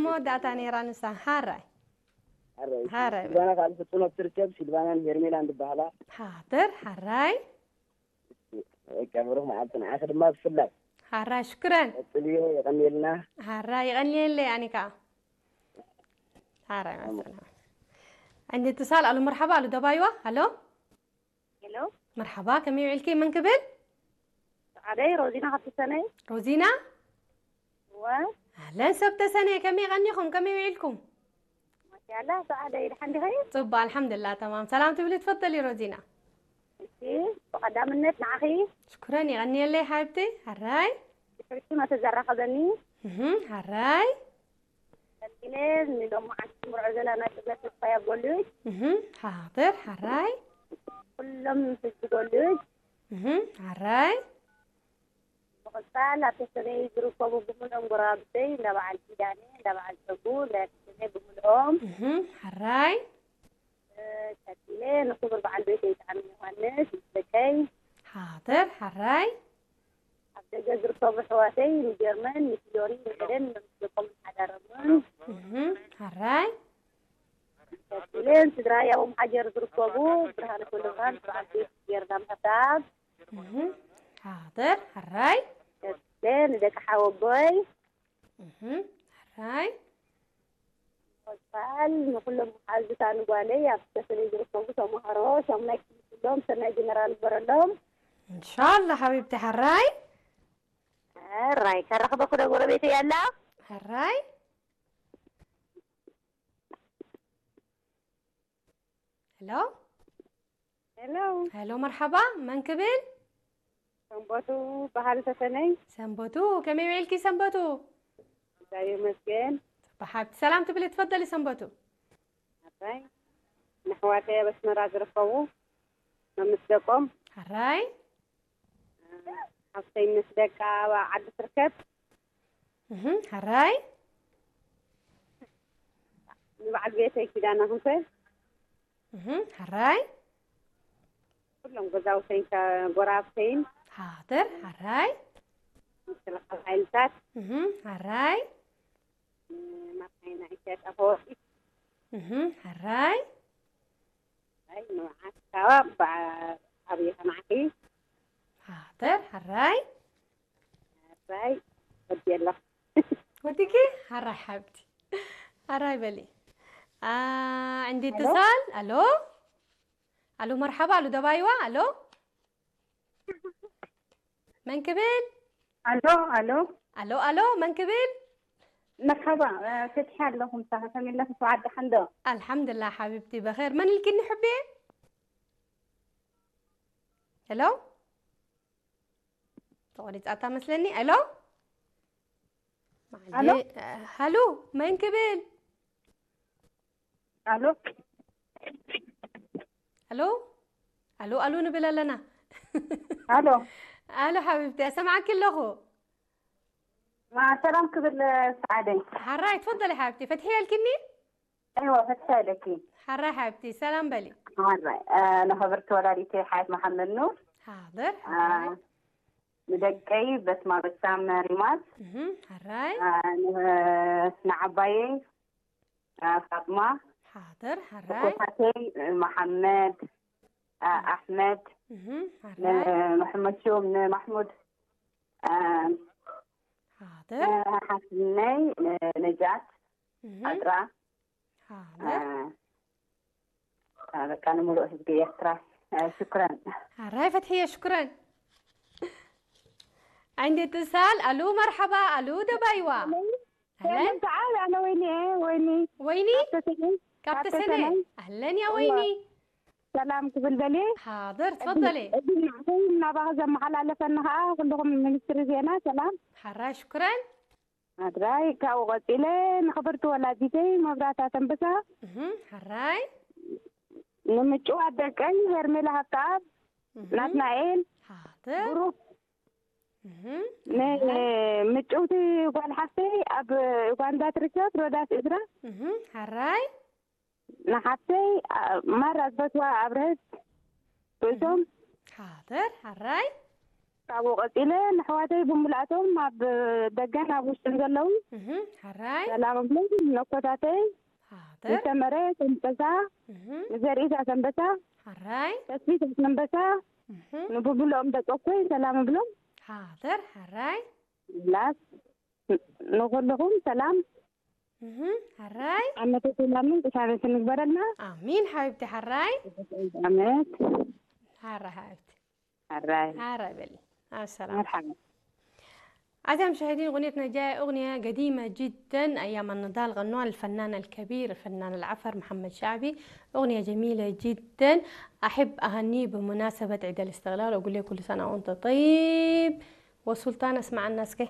መወዳእታ ነይራ ንሳ። ሓራይ። ሓራይ ሓራይ። ሲልቫና ካብ ፍጹም ኣብ ትርከብ፣ ሲልቫናን ሄርሜላን ዝበሃላ። ሓደር ሓራይ። በቃ ብሩኽ መዓልቲ ንዓኺ ድማ ብፍላይ። ሓራይ ሽክረን። ቀጽልዮ፣ የቐንየልና። ሓራይ ይቐንየለይ ኣኒካ። ሓራይ መሰላ። عندي اتصال። الو مرحبا، الو ደባይዋ። الو ሄሎ مرحبا، ከመይ ውዒልኪ? መን ክብል? ሰዓደይ ሮዚና ካብ ተሰነይ ሮዚና። እወ ኣህለን ሰብ ተሰነይ፣ ከመይ ቀኒኹም? ከመይ ውዒልኩም? ማሻላ ሰዓደይ ድሓን ዲኸ ጽቡቅ ኣልሓምዱላ። ተማም ሰላም ትብሊ ትፈተሊ ሮዚና። እሺ ብቐዳምነት ንዓኺ ሽኩረን ይቐንየለይ ሓብቲ። ሓራይ ብሕጂ መተ ዘራኸበኒ እህም፣ ሓራይ ቀፂለ ንሎማዓንቲ ምርዖ ዘለና ጥበት ተስፋ ያጎልጅ እህም፣ ሓደር ሓራይ ኩሎም ህዝቢ ጎልጅ እህም፣ ሓራይ ምቕፃል ኣብ ተሰነይ ዝርከቡ ብምሎም ጎረባብተይ እንዳ በዓል ኪዳነ እንዳ በዓል ፀጉ እንዳ ተሰነይ ብምልኦም እህም፣ ሓራይ ቀፂለ ንክቡር በዓል ቤተይ ጣዕሚ ዮሃንስ ምስ ደቀይ ሓደር ሓራይ ኣብ ደገ ዝርከቡ ኣሕዋተይ ንጀርመን ንፊዮሪ ንኤደን ንምስልቆም ሓዳሮምን እህም፣ ሓራይ ቀፂለ ንስድራይ ኣብ ኦምሓጀር ዝርከቡ ብርሃነ ኩሉኻን በዓል ቤት ጌርና ምሕሳብ እህም፣ ሓደር ሓራይ ቀፂለ ንደቂ ሓወቦይ እህም፣ ሓራይ በዓል ንኩሎም መሓዙታ ንጓለይ ኣብ ተሰነይ ዝርከቡ ተምሃሮ ሻሙናይ ክፍሊ ኩሎም ሰናይ ጀነራል ግበረሎም እንሻላ ሓቢብቲ ሓራይ ሕራይ ከረኽበኩ ዶ ጎረቤተይ ኣላ ሕራይ ሄሎ ሄሎ ሄሎ መርሓባ መን ክብል ሰንበቱ በሃል ተሰነይ ሰንበቱ ከመይ ውዒልኪ ሰንበቱ እግዚኣብሔር ይመስገን ብሓብቲ ሰላም ትብሊ ትፈደሊ ሰንበቱ ሕራይ ንኣሕዋተይ ኣብ ኣስመራ ዝርከቡ መምስ ደቆም ሕራይ ሓፍተይ ምስ ደቃ ኣብ ዓዲ ትርከብ እህ፣ ሕራይ ንበዓል ቤተይ ኪዳነ ክንፈ እህ፣ ሕራይ ኩሎም ገዛውተይን ጎረባብተይን ሓደር ሕራይ ምክልኻል ሓይልታት እህ፣ ሕራይ መርሓይና ኢሳያስ ኣፈወርቂ እህ፣ ሕራይ ኣይ ንብዓት ካባ ኣብየ ከማዕኪ ሓደር ሕራይ ሕራይ ወዲ ኣለኹ ወዲኪ ሕራይ ሓብቲ ሕራይ በሊ عندي اتصال الو الو مرحبا الو ደባይዋ الو መን ክብል ኣሎ ኣሎ الو الو መን ክብል መርሓባ ፍትሒ ኣለኹም ሳኸ ከመይ ኣለኹ ሰዓት ደሓን ዶ الحمد لله ሓቢብቲ بخير መን ኢልኪኒ ሕቤ الو ተቆሪፃታ መስለኒ الو ኣሎ ሃሉ መን ክብል ኣሎ الو الو الو ንብል ኣለና ኣሎ الو ሓቢብቲ ኣሰምዓኪ ኣለኹ ሰላም ክብል ሰዓደይ ሓራይ ትፈደሊ ሓቢብቲ ፈትሒ ያልኪኒ ኣይዋ ፈትሒ ኣለኪ ሓራይ ሓቢብቲ ሰላም በሊ ሓራይ ንኸብርቲ ወላዲተይ ሓየት መሓመድ ኑር ሓደር ንደቀይ በስማ በሳም ሪማት ሓራይ ንዓባየይ ፋጥማ ሓደር ሓራይ ኮታተይ መሓመድ ኣሕመድ ሓራይ ንመሐመድ ሹም ንማሕሙድ ሓደር ሓስነይ ነጃት ዓጥራ ሓደር በቃ ንምሉእ ህዝቢ ኤርትራ ሽኩረን ሓራይ ፈትሕየ ሽኩረን عندي اتصال الو مرحبا الو ደባይዋ ሰላም ሰዓል ኣነ ወይኒ እየ ወይኒ ወይኒ ተሰኒ ካብ ተሰነ ኣህለን ያ ወይኒ ሰላም ክብል ደልየ ሓደር ትፈደሊ እዚ ናዕተይ እናባኸ ዘመሓላለፈኒ ከዓ ኩልኹም ሚኒስትሪ ዜና ሰላም ሓራይ ሽኩረን ኣድራይ ካብኡ ቀፂለ ንኽብርቲ ወላዲተይ መብራህታ ተንበሳ ሓራይ ንምጭዋት ደቀይ ሄርሜላ ሃብተኣብ ናትናኤል ሓደር ብሩክ ንምጭውቲ ጓል ሓፍተይ ኣብ ኡጋንዳ ትርከብ ሮዳስ እዝራ ሓራይ ንሓፍተይ ማራ ዝበትዋ ኣብርሀት ርእሶም ሓደር ሓራይ ካብኡ ቀጺለ ንኣሕዋተይ ብምልኣቶም ኣብ ደገን ኣብ ውሽጥን ዘለዉ እህ፣ ሓራይ። ሰላም እብሎም። ነኮታተይ፣ ሓደር። ንሰመረ ሰንበሳ፣ እህ፣ ንዘርኢታ ሰንበሳ፣ ሓራይ። ተስፊት ሰንበሳ፣ እህ፣ ንብብልኦም ደቀኮይ ሰላም እብሎም። ሓደር፣ ሓራይ። ላስ፣ ን-፣ ንኹልኹም ሰላም። እህ፣ ሓራይ። ዓመተ ሰላምን ቅሳነትን ንግበረልና። ኣሚን ሓቢብቲ፣ ሓራይ። ዓመት። ሓራይ ሓቢብቲ። ሓራይ። ሓራይ በሊ። ኣብ ሰላም። መርሓባ። أعزائي المشاهدين، أغنيتنا جاية أغنية قديمة جدًا، أيام النضال غنوها الفنان الكبير الفنان العفر محمد شعبي، أغنية جميلة جدًا. أحب أهنيه بمناسبة عيد الاستقلال وأقول له كل سنة وأنت طيب. والسلطان اسمع الناس كيف.